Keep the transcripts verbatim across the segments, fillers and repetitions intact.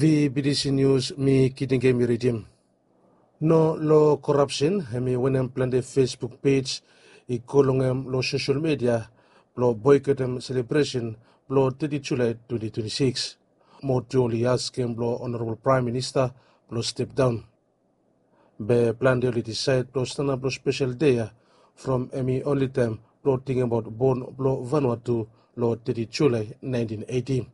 Di B T C News mi Kitingem i ridim. No lo korapsen, hemi wanem plante Facebook pej i go long hem lo sosel media blo boikotem selebresen blo teti Julae twenti twenti sikis. Mo tu oli askem blo Onorabol Praem Minista blo step daon. Be plante oli disaed blo stanap lo spesel dei ya from hemi onli taem blo tingabaot bon blo Vanuatu lo teti Julae naentin eiti.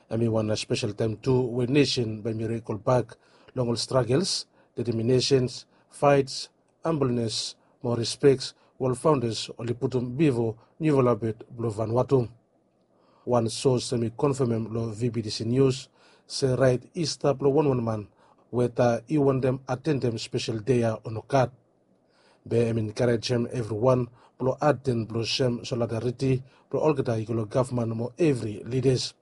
Hemi wan spesel taem tu we nesen bae mi rekol bak long ol stragels, deteminesen, faets, hambolnes mo respek we ol faondas oli putum bifo niufala bet blo Vanuatu. Wan sos hemi konfamem lo V B T C News se raet i stap lo wanwan man weta i wantem atendem spesel dei ya o nogat. Be hemi enkarejem evriwan blo aten blo sem solidariti blo olgeta i go lo gavman mo evri lidas.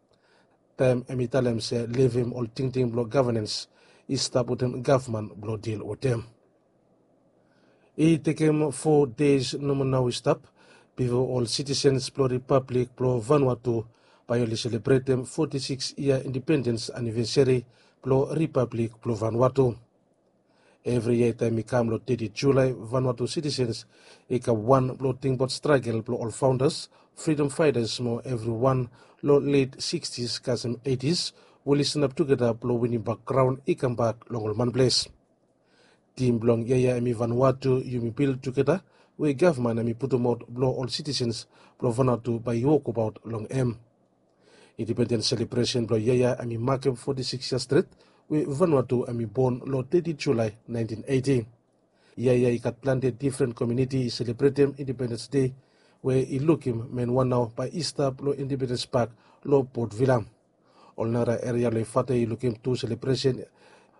Taem hemi talem se levem ol tingting blo gavanans i stap wetem gavman blo dil wetem. I tekem fo deis nomo nao i stap bifo ol sitisens blo Ripablik blo Vanuatu bae oli selebretem foti sikis yia indipendens anivesari blo Ripablik blo Vanuatu. Evri yia taem i kam lo teti Julae, Vanuatu sitisens i kam wan blo tingbaot stragel blo ol faondas, fridom faetas mo evriwan lo let sikistis kasem eitis we oli stanap tugeta blo winim bak graon i kambak long ol manples. Tim blong yia ya hemi Vanuatu yumi bil tugeta, we gavman hemi putumaot blo ol sitisens blo Vanuatu bae i wokbaot long hem. Indipendens selebresen blo yia ya hemi makem foti sikis yia stret we Vanuatu hemi bon lo teti Julae naentin eiti. Yia ya i gat plante difren komuniti i selebretem Indipendens Dei we i lukim men wan nao bae i stap lo Indipendens Pak lo Port Vila. Ol nara eria lo Efate i lukim tu selebresen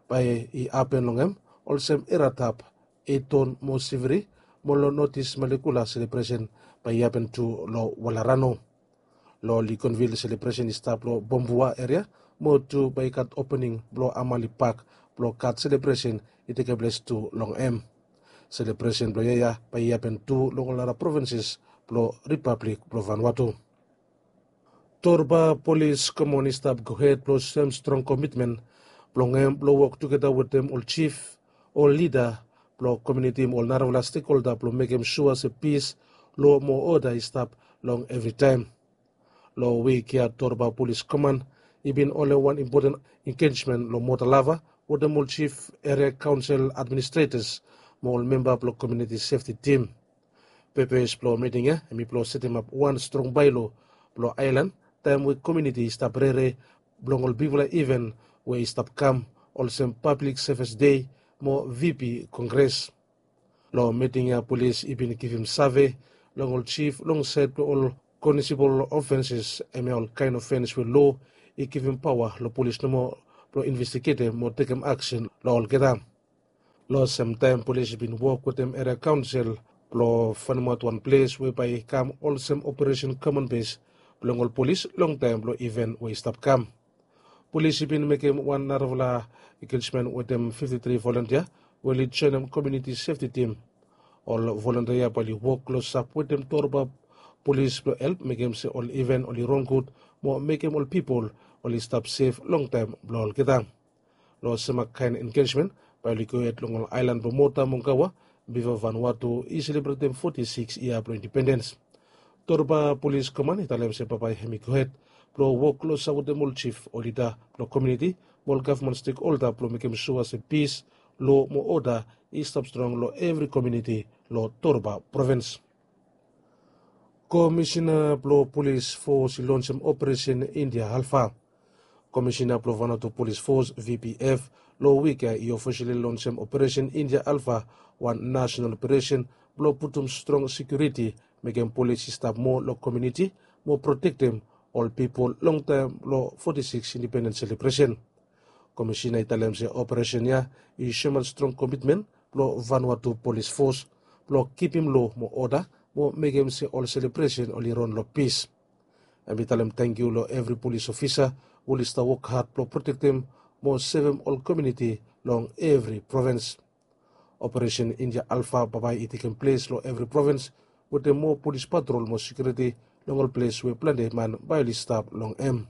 bae i hapen long hem, olsem Eratap, Eton mo Siviri, mo lo Notis Malekula selebresen bae i hapen tu lo Walarano. Lo Ligonvil selebresen i stap lo Bombua eria, mo tu bae i gat opening blo Amali Pak blo gat selebresen i tekem ples tu long hem. Selebresen blo yia ya bae i hapen tu long ol nara provinses blo Ripablik blo Vanuatu. Torba Polis Komon i stap gohed blo sem strong komitmen blong hem blo wok tugeta wetem ol jif, ol lida blo komuniti mo ol narafala stekholda blo mekem sua se pis, lo mo oda i stap long evritaem. Lo wik ya Torba Polis Koman i bin holem wan impoten engejmen lo Motalava wetem ol jif, eria kaonsel administretas mo ol memba blo komuniti sefti tim. Pepes blo miting ya hemi blo setemap wan strong baelo blo aelan taem we komuniti i stap rere blong ol bigfala iven we i stap kam, olsem Pablik Sevis Dei mo V P Kongres. Lo miting ya polis i bin givim save long ol jif long saed blo ol konisibol ofenses, hemia ol kaen ofens we loa i givim paoa lo polis nomo blo investigetem mo tekem aksen lo olgeta. Lo semtaem polis i bin wok wetem eria kaonsel blo faenemaot wan ples we bae i kam olsem operesen komon bes blong ol polis long taem blo iven we i stap kam. Polis i bin mekem wan narafala engejmen wetem fifti tri volontia we oli joenem komuniti sefti tim. Ol volontia bae oli wok klosap wetem Torba Polis blo help mekem se ol iven oli ron gud mo mekem ol pipol oli stap sef long taem blo olgeta. Lo semakaen engejmen bae oli gohed long ol aelan blo Mota mo Gaua bifo Vanuatu i selebretem foti sikis yia blo indipendens. Torba Polis Koman i talem se bambae hemi gohed blo wok klosap wetem ol jif, ol lida blo komuniti mo ol gavman stekholda blo mekem sua se pis, loa mo oda i stap strong lo evri komuniti lo Torba provins. Komisina blo Polis Fos i lonsem Operesen India Alfa. Komisina blo Vanuatu Polis Fos, V P F, lo wik ya i ofisali lonsem Operesen India Alfa, wan nasonal operesen blo putum strong sekiuriti, mekem polis i stap moa lo komuniti mo protektem ol pipol long taem blo foti sikis indipendens selebresen. Komisina i talem se operesen ya i soemaot strong komitmen blo Vanuatu Polis Fos blo kipim loa mo oda mo mekem se ol selebresen oli ron lo pis. Hem i talem tangkiu lo evri polis ofisa we oli stap wok had blo protektem mo sevem ol komuniti long evri provins. Operesen India Alfa bambae i tekem ples lo evri provins wetem moa polis patrol mo sekiuriti long ol ples we plante man bae oli stap long hem.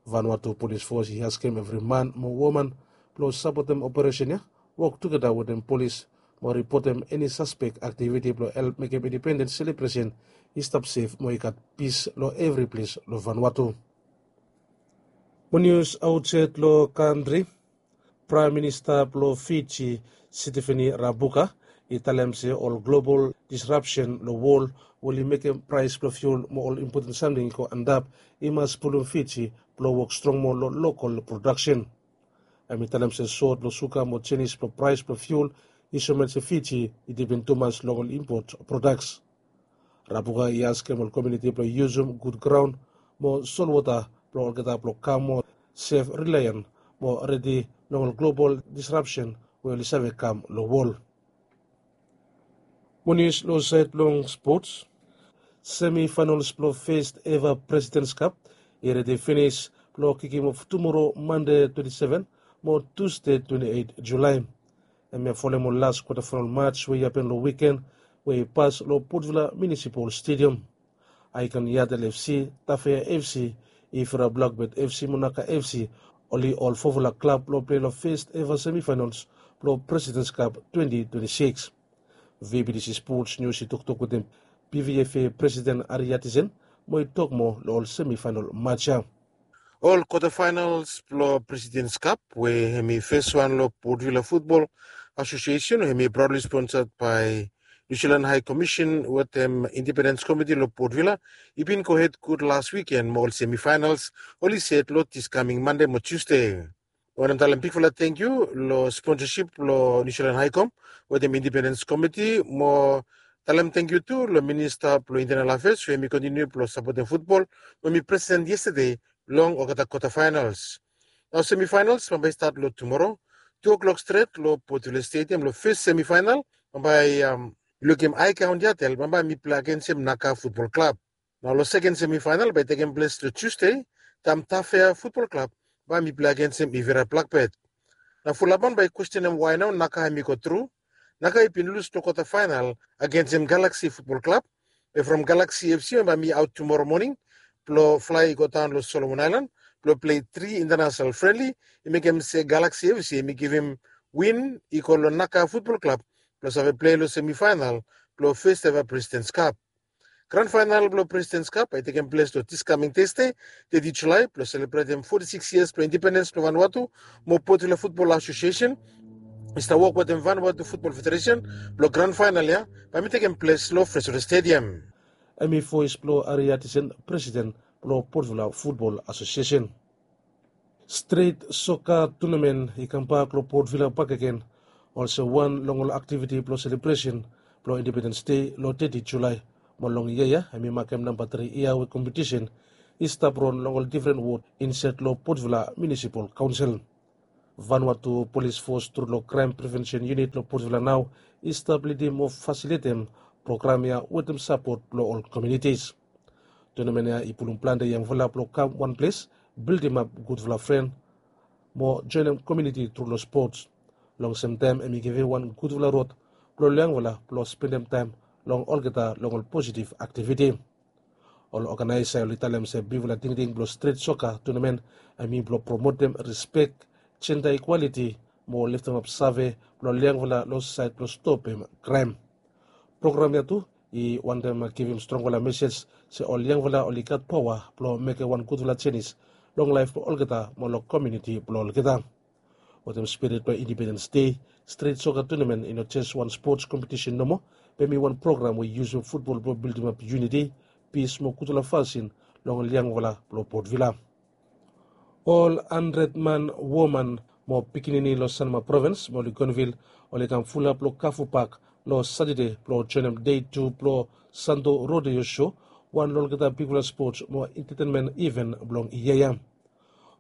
Vanuatu Polis Fos i askem evri man mo woman blong sapotem operesen ya, wok tugeta wetem polis mo ripotem eni saspek aktiviti blong help mekem indipendens selebresen i stap sef mo i gat pis long evri ples long Vanuatu. Mo nius aotsaed long kantri, Praem Minista blong Fiji, Sitiveni Rabuka, i talem se ol global disrapsen long wol we oli mekem praes blong fiul mo ol impoten samting i go antap i mas pulum Fiji blong wok strong moa long lokal prodaksen. Hem i talem se sot blong suga mo jenis blong praes blong fiul i soem se Fiji i dipen tumas long ol impot prodaks. Rabuka i askem ol komuniti blong yusum gud graon mo solwota blong olgeta blong kam moa sef, rilaen mo redi long ol global disrapsen we oli save kam long wol. Mo nius long saed blong spots, semifainals blong fes eva Presidents Cup i redi finis blong kikim of tumoro, Mande twenti seven, mo Tusde twenti eit Julae. Hemia folem ol las kwatafainal mats we i hapen long wiken we i pas long Port Vila Munisipal Stadium. Icon Yatel FC, Tafea FC, Ifra Blackbird FC mo Naka FC, oli ol fofala klab blong plei long fes eva semifainals blong Presidents Cup twenti twenti sikis. VBTC Sports News i toktok wetem PVFA Presiden Ari Yatisen mo i tok moa long ol semifainal mats ya. Ol kwatafainals blong Presidents Cup we hem i fes wan long Port Vila Futbol Asosiesen, hem i praudli sponsad bae New Zealand High Commission wetem Independens Komiti long Port Vila, i bin gohed gud las wiken mo ol semifainals oli set long dis kaming Mande mo Tusde. Wantem talem bigfala tangkiu long sponsasip blong New Zealand High Com wetem Independens Komiti mo talem tangkiu tu long Minista blong Intenal Afeas we hem i kontiniu blong sapotem futbol we hem i present yestade long olgeta kwatafainals. Nao semifainals bambae i stat long tumoro tu oklok stret long Port Vila Stadium long fes semifainal. Bambae, lukim Icon Yatel bambae hem i plei agensem Naka Futbol Klab. Nao long seken semifainal bae i tekem ples long Tusde, taem Tafea Futbol Klab bae hem i plei agensem Ifra Blackbird. Nao fulap man bae i kwestenem wae nao Naka hem i go tru. Naka i bin lus long kwatafainal agensem Galaksi Futbol Klab. Be from Galaksi FC bae hem i aot tumoro moning blong flae i go daon long Solomon Aelan blong plei tri intanesenal frenli, i mekem se Galaksi FC hem i givim win i go long Naka Futbol Klab blong save plei long semifainal blong fes eva Presidens Kap. Gran fainal blong Presidens Kap bae i tekem ples long dis kaming Tasde, teti Julae, blong selebretem foti sikis yias blong indipendens blong Vanuatu. Mo Port Vila Futbol Asosiesen i stap wok wetem Vanuatu Futbol Federesen blong gran fainal ya bae hem i tekem ples long Fresno Stadium. Hem i voes blong Ari Yatisen, presiden blong Port Vila Futbol Asosiesen. Stret soka tunamen i kambak long Port Vila bakegen olsem wan long ol aktiviti blong selebresen blong Indipendens Dei long teti Julae. Mo long yia ya hem i makem namba tri yia we kompetisen i stap ron long ol difren wod insaed long Port Vila Munisipal Kaonsel. Vanuatu Polis Fos tru long Kraem Prevensen Yunit long Port Vila nao i stap lidim mo fasilitem program ya wetem sapot blong ol komunitis. Tunamen ya i pulum plante yangfala blong kam wan ples, bildimap gudfala fren mo joenem komuniti tru long spots. Long semtaem hem i givim wan gudfala rod blong ol yangfala blong spendem taem long olgeta long ol positiv aktiviti. Ol oganaesa oli talem se bigfala tingting blong stret soka tunamen hem i blong promotem rispek, jenda ikwaliti mo leftemap save blong ol yangfala long saed blong stopem kraem. Program ya tu i wantem givim strongfala mesej se ol yangfala oli gat paoa blong mekem wan gudfala jenis long laef blong olgeta mo long komuniti blong olgeta. Wetem spirit blong Indipendens Dei, stret soka tunamen i no jes wan spots kompetisen nomo, be hem i wan program we i yusum futbol blong bildimap yuniti, pis mo gudfala fasin long ol yangfala blong Port Vila. Ol handred man, woman mo pikinini long Sanma Provens mo Ligonvil oli kam fulap long Kafu Pak long Satade blong joenem dei tu blong Sando Rodeo Sho, wan long olgeta bigfala spots mo entetenmen iven blong yia ya.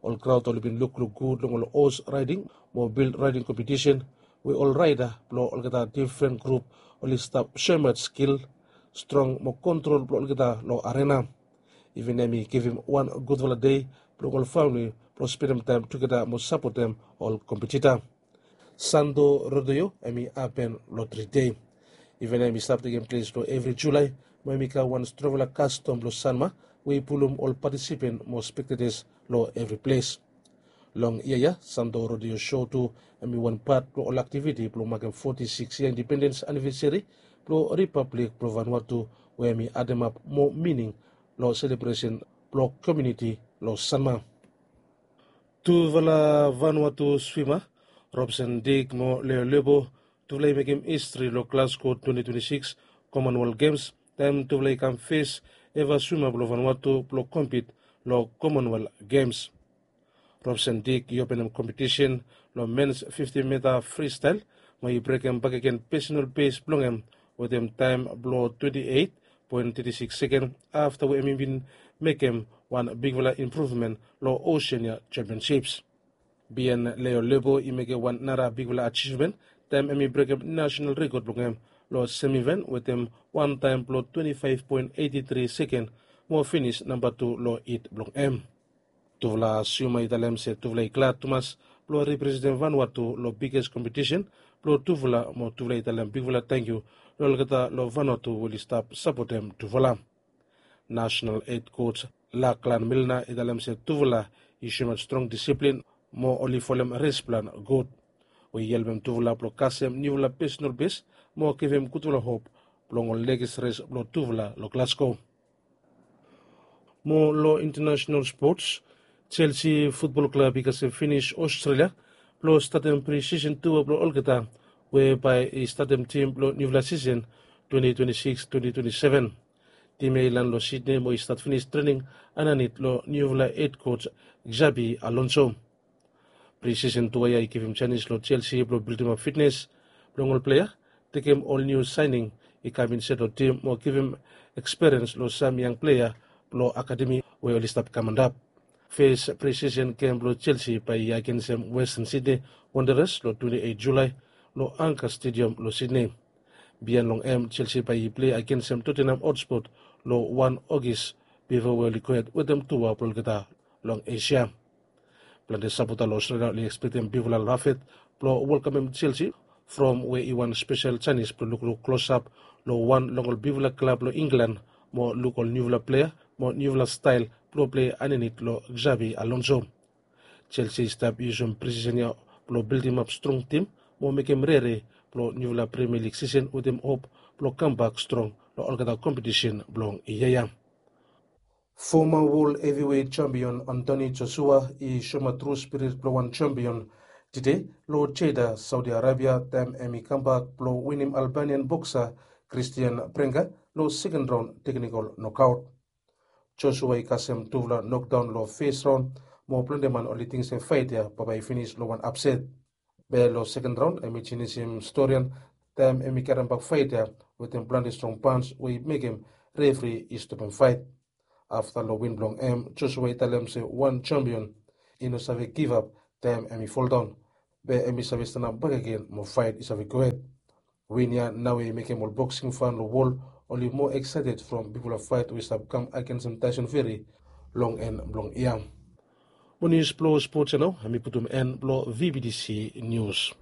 Ol kraod oli bin lukluk gud long ol hos raeding mo bil raeding kompetisen we ol raeda blong olgeta difren grup oli stap soemaot skil, strong mo kontrol blong olgeta long arena. Iven hem i givim wan gudfala dei blong ol famili blong spendem taem tugeta mo sapotem ol kompetita. Sando Rodeo hem i hapen long tri dei. Iven hem i stap tekem ples long evri Julae mo hem i kam wan strongfala kastom blong Sanma we i pulum ol patisipen mo spektetas long evri ples. Long yia ya, Santo Rodeo Show tu hemi wan pat blong ol aktiviti blong makem foti sikis yia indipendens anivesari blong Ripablik blong Vanuatu, we hemi ademap moa mining long selebresen blong komuniti long Sanma. Tufala Vanuatu swima, Robson Dick mo Leo Lebo, tufala i mekem histri long Glasgow twenti twenti sikis Commonwealth Games, taem tufala i kam fes eva swima blong Vanuatu blong kompit long Commonwealth Games. Robson Dick i openem kompetisen long mens fifti mita fristael, mo i brekem bakegen pesenal bes blong hem wetem taem blong twenti eit poen teti sikis seken, afta we hemi bin mekem wan bigfala impruvmen long Oceania Championships. Bien Leo Lebo i mekem wan nara bigfala ajivmen taem hemi brekem nasenal rekod blong hem long sem iven wetem wan taem blong twenti faef poen eiti tri seken, mo finis namba tu long hit blong hem. Tufala swima i talem se tufala i glad tumas blong representem Vanuatu long biges kompetisen blong tufala, mo tufala i talem bigfala tangkiu long olgeta long Vanuatu we oli stap sapotem tufala. Nasenal hed koj Lachlan Milner i talem se tufala i soemaot strong disiplin, mo oli folem res plan gud, we i helpem tufala blong kasem niufala pesenal bes, mo givim gudfala hop blong ol nekis res blong tufala long Glasgow. Mo long intanasenal spots, Chelsea futbol klab i kasem finis Australia blong statem prisisen tua blong olgeta, we bae i statem tim blong niufala sisen twenti twenti sikis twenti twenti seven. Tim ya i lan long Sydney mo i stat finis trening andanit long niufala hed koj Xabi Alonso. Prisisen tua ya i givim janis long Chelsea blong bildimap fitnes blong ol plea, tekem ol niu saening i kam insait long tim mo givim ekspiriens long sam yang plea blong akademi we oli stap kam antap. Fes prisisen gem blong Chelsea bae i agensem Western Sydney Wanderers long twenti eit Julae long Anchor Stadium long Sydney. Biaen long hem, Chelsea bae i plei agensem Tottenham Hotspur long wan Ogis bifo we oli gohed wetem tua blong olgeta long Asia. Plante sapota long Australia oli ekspektem bigfala lafet blong welkamem Chelsea, from we i wan spesel janis blong lukluk klosap long wan long ol bigfala klab long Inglan, mo luk ol niufala plea mo niufala stael blong plei andanit long Xabi Alonso. Chelsea i stap yusum prisisen ya blong bildimap strong tim mo mekem rere blong niufala Premier League sisen wetem hop blong kambak strong long olgeta kompetisen blong yia ya. Foma wol heviwet jampion Anthony Joshua i soemaot tru spirit blong wan jampion tede long Jeddah, Saudi Arabia, taem hemi kambak blong winim Albanian boksa Christian Prenga long seken raon teknikol nokaot. Joshua i kasem tufala nokdaon long fes raon, mo plante man oli ting se faet ya bambae i finis long wan apset. Be long seken raon hemi jenisim storian taem hemi karembak faet ya wetem plante strong pans we i mekem refri i stopem faet. Afta long win blong hem, Joshua i talem se wan jampion i no save givap taem hemi foldaon, be hemi save stanap bakegen mo faet i save gohed. Win ya naoia i mekem ol boksing fan long wol oli moa eksaeted from bigfala faet we i stap kam agensem Tyson Fury long en blong yia. Mo nius blong spots ya nao hemi putum en blong V B T C Nius.